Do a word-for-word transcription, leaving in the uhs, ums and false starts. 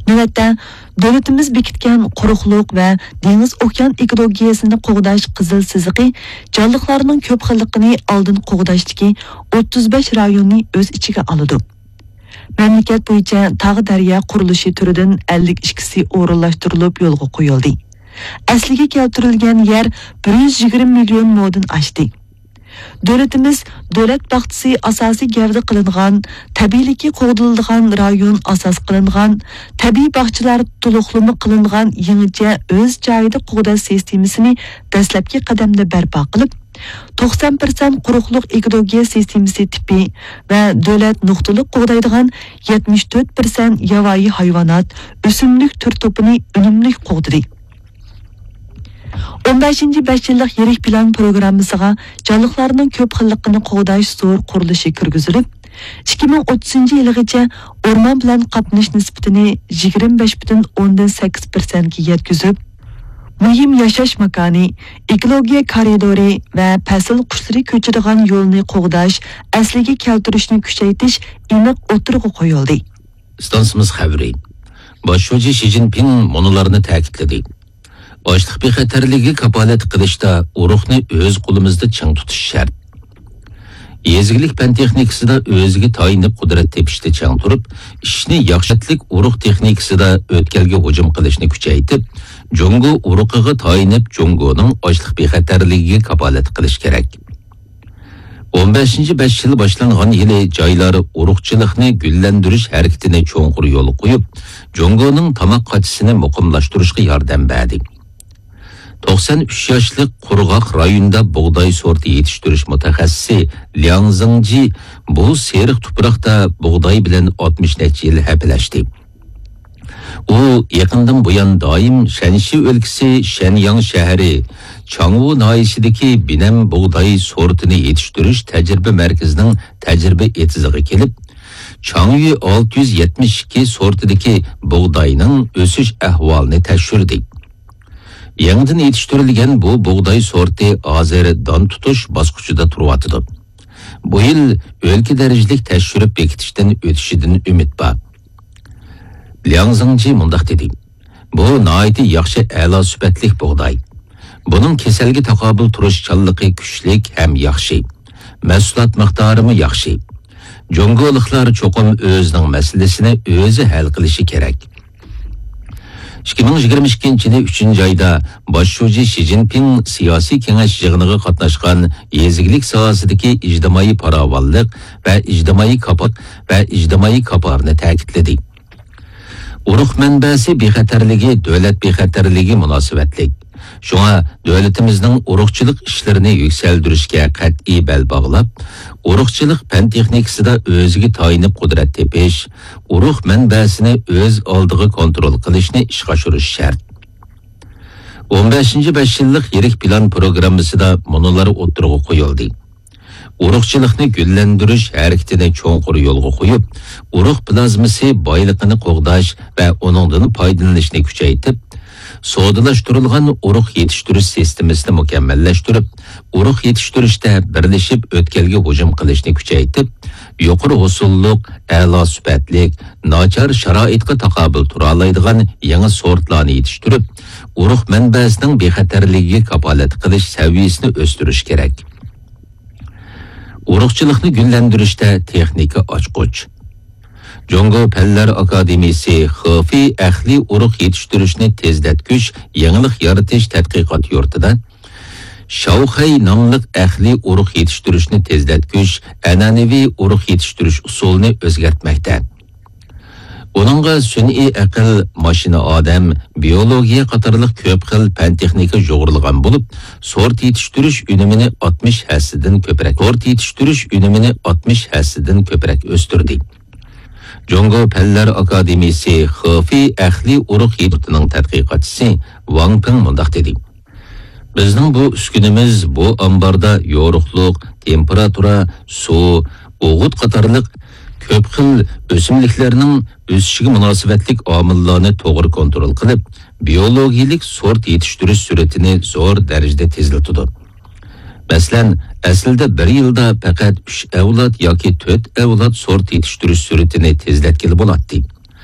نۆۋەتتە، دۆلىتىمىز بېكىتكەن قۇرۇقلۇق ۋە دېڭىز ئوكيان ئېكولوگىيەسىنى قوغداش قىزىل سىزىقى جانلىقلارنىڭ كۆپ خىللىقىنى ئالدىن قوغداشتىكى ئوتتۇز بەش رايوننى ئۆز ئىچىگە ئالىدۇ. مەملىكەت بويىچە تاغ دەريا قۇرۇلۇشى تۈرىدىن ئەللىك ئىككىسى ئورۇنلاشتۇرۇلۇپ يولغا قويۇلدى. ئەسلىگە كەلتۈرۈلگەن يەر بىر يۈز يىگىرمە مىليون مودىن ئاشتى. دۆلىتىمىز دۆلەت باغچىسى ئاساسىي گەۋدە قىلىنغان، تەبىئىيلىكى قوغدىلىدىغان رايون ئاساس قىلىنغان، تەبىئىي باغچىلار تولۇقلىما قىلىنغان يېڭىچە ئۆز جايىدا قوغداش سىستېمىسىنى دەسلەپكى قەدەمدە بەرپا قىلىپ، توقسان پىرسەنت قۇرۇقلۇق ئېكولوگىيە سىستېمىسى تىپى ۋە دۆلەت نۇقتىلىق قوغدايدىغان يەتمىش تۆت پىرسەنت ياۋايى ھايۋانات، ئۆسۈملۈك تۈر توپىنى ئۈنۈملۈك قوغدىدى. ئون بەشىنچى بەش يىللىق يىرىك پىلان پروگراممىسىغا جانلىقلارنىڭ كۆپ خىللىقىنى قوغداش زور قۇرۇلۇشى كىرگۈزۈلۈپ، ئىككى مىڭ ئوتتۇزىنچى يىلىغىچە ئورمان بىلەن قاپلىنىش نىسبىتىنى يىگىرمە بەش پۈتۈن ئوندىن سەككىز پىرسەنتكە يەتكۈزۈپ، مۇھىم ياشاش ماكانى، ئېكولوگىيە كارىدورى ۋە پەسىل قۇشلىرى كۆچىدىغان يولنى قوغداش ئەسلىگە كەلتۈرۈشنى كۈچەيتىش ئېنىق ئوتتۇرىغا قويۇلدى. ئىستانسىمىز خەۋىرى. باش شۇجى شى جىنپىڭ مۇنۇلارنى تەكىتلىدى. ئاشلىق بىخەتەرلىكىگە كاپالەتلىك قىلىشتا ئۇرۇقنى ئۆز قولىمىزدا چىڭ تۇتۇش شەرت. يېزا ئىگىلىك پەن تېخنىكىسىدا ئۆزىگە تايىنىپ قۇدرەت تېپىشتا چىڭ تۇرۇپ، ئىشنى ياخشىلىق ئۇرۇق تېخنىكىسىدا ئۆتكەلگە ھۇجۇم قىلىشنى كۈچەيتىپ، جۇڭگو ئۇرۇقىغا تايىنىپ، جۇڭگونىڭ ئاشلىق بىخەتەرلىكىگە كاپالەتلىك قىلىش كېرەك. ئون بەشىنچى بەش يىل باشلانغان يىلى جايلار ئۇرۇقچىلىقنى گۈللەندۈرۈش ھەرىكىتىنى چوڭقۇر يولغا قويۇپ، جۇڭگونىڭ تاماق قاچىسىنى مۇقىملاشتۇرۇشقا ياردەم بەردى. توقسان ئۈچ ياشلىق قۇرغاق رايوندا بۇغداي سورتى يېتىشتۈرۈش مۇتەخەسسىسى لياڭ زېڭجى بۇ سېرىق تۇپراقتا بۇغداي بىلەن ئاتمىش نەچچە يىل ھەپىلەشتى. ئۇ يېقىندىن بۇيان دائىم شەنشى ئۆلكىسى شەنياڭ شەھىرى چاڭۋۇ ناھىيەسىدىكى بىنەم بۇغداي سورتىنى يېتىشتۈرۈش تەجرىبە مەركىزىنىڭ تەجرىبە ئېتىزىغا كېلىپ، چاڭيۈ ئالتە يۈز يەتمىش ئىككى سورتىدىكى بۇغداينىڭ ئۆسۈش ئەھۋالىنى تەكشۈردى. يېڭىدىن يېتىشتۈرۈلگەن بۇ بۇغداي سورتى ھازىر دان تۇتۇش باسقۇچىدا تۇرۇۋاتىدۇ. بۇ يىل ئۆلكە دەرىجىلىك تەكشۈرۈپ بېكىتىشتىن ئۆتۈشىدىن ئۈمىد بار. لياڭ زېڭجى مۇنداق دېدى، بۇ ناھايىتى ياخشى، ئەلا سۈپەتلىك بۇغداي. بۇنىڭ كېسەلگە تاقابىل تۇرۇشچانلىقى كۈچلۈك ھەم ياخشى. مەھسۇلات مىقدارىمۇ ياخشى. جۇڭگولۇقلار چوقۇم ئۆزىنىڭ مەسىلىسىنى ئۆزى ھەل قىلىشى كېرەك. ئىككى مىڭ يىگىرمە ئىككىنچى يىلى ئۈچىنچى ئايدا باش شۇجى شى جىنپىڭ سىياسىي كېڭەش يىغىنىغا قاتناشقان يېزا ئىگىلىك ساھەسىدىكى ئىجتىمائىي پاراۋانلىق ۋە ئىجتىمائىي كاپا-، ۋە ئىجتىمائىي كاپالەتنى تەكىتلىدى. ئۇرۇق مەنبەسى بىخەتەرلىكى دۆلەت بىخەتەرلىكىگە مۇناسىۋەتلىك. شۇڭا دۆلىتىمىزنىڭ ئۇرۇقچىلىق ئىشلىرىنى يۈكسەلدۈرۈشكە قەتئىي بەل باغلاپ، ئۇرۇقچىلىق پەن تېخنىكىسىدا ئۆزىگە تايىنىپ قۇدرەت تېپىش، ئۇرۇق مەنبەسىنى ئۆز ئالدىغا كونترول قىلىشنى ئىشقا ئاشۇرۇش شەرت. ئون بەشىنچى بەش يىللىق يىرىك پىلان پروگراممىسىدا مۇنۇلار ئوتتۇرىغا قويۇلدى. ئۇرۇقچىلىقنى گۈللەندۈرۈش ھەرىكىتىنى چوڭقۇر يولغا قويۇپ، ئۇرۇق پلازمىسى بايلىقىنى قوغداش ۋە ئۇنىڭدىن پايدىلىنىشنى كۈچەيتىپ، سودىلاشتۇرۇلغان ئۇرۇق يېتىشتۈرۈش سىستېمىسىنى مۇكەممەللەشتۈرۈپ، ئۇرۇق يېتىشتۈرۈشتە بىرلىشىپ ئۆتكەلگە ھۇجۇم قىلىشنى كۈچەيتىپ، يۇقىرى ھوسۇللۇق، ئەلا سۈپەتلىك، ناچار شارائىتقا تاقابىل تۇرالايدىغان يېڭى سورتلارنى يېتىشتۈرۈپ، ئۇرۇق مەنبەسىنىڭ بىخەتەرلىكىگە كاپالەتلىك قىلىش سەۋىيەسىنى ئۆستۈرۈش كېرەك. ئۇرۇقچىلىقنى گۈللەندۈرۈشتە تېخنىكا ئاچقۇچ. جۇڭگو پەنلەر ئاكادېمىيىسى خېفېي ئەقلىي ئۇرۇق يېتىشتۈرۈشنى تېزلەتكۈچ يېڭىلىق يارىتىش تەتقىقات يۇرتىدا شاۋخەي ناملىق ئەقلىي ئۇرۇق يېتىشتۈرۈشنى تېزلەتكۈچ ئەنئەنىۋى ئۇرۇق يېتىشتۈرۈش ئۇسۇلىنى ئۆزگەرتمەكتە. ئۇنىڭغا سۈنئىي ئەقىل، ماشىنا ئادەم، بىيولوگىيە قاتارلىق كۆپ خىل پەن تېخنىكا يۇغۇرۇلغان بولۇپ، سورت يېتىشتۈرۈش ئۈنۈمىنى ئاتمىش ھەسسىدىن كۆپرەك، سورت يېتىشتۈرۈش ئۈنۈمىنى ئاتمىش ھەسسىدىن كۆپرەك ئۆستۈردى. جۇڭگو پەنلەر ئاكادېمىيىسى خېفېي ئەقلىي ئۇرۇق يېتىشتۈرۈشنىڭ تەتقىقاتچىسى ۋاڭ پىڭ مۇنداق دېدى. بىزنىڭ بۇ ئۈسكۈنىمىز بۇ ئامباردا يورۇقلۇق، تېمپېراتۇرا، سۇ، ئوغۇت قاتارلىق كۆپ خىل ئۆسۈملۈكلەرنىڭ ئۆسۈشىگە مۇناسىۋەتلىك ئامىللارنى توغرا كونترول قىلىپ، بىيولوگىيىلىك سورت يېتىشتۈرۈش سۈرئىتىنى زور دەرىجىدە تېزلىتىدۇ. مەسىلەن، ئەسلىدە بىر يىلدا پەقەت ئۈچ ئەۋلاد ياكى تۆت ئەۋلاد سورت يېتىشتۈرۈش سۈرئىتىنى تېزلەتكىلى بولاتتى.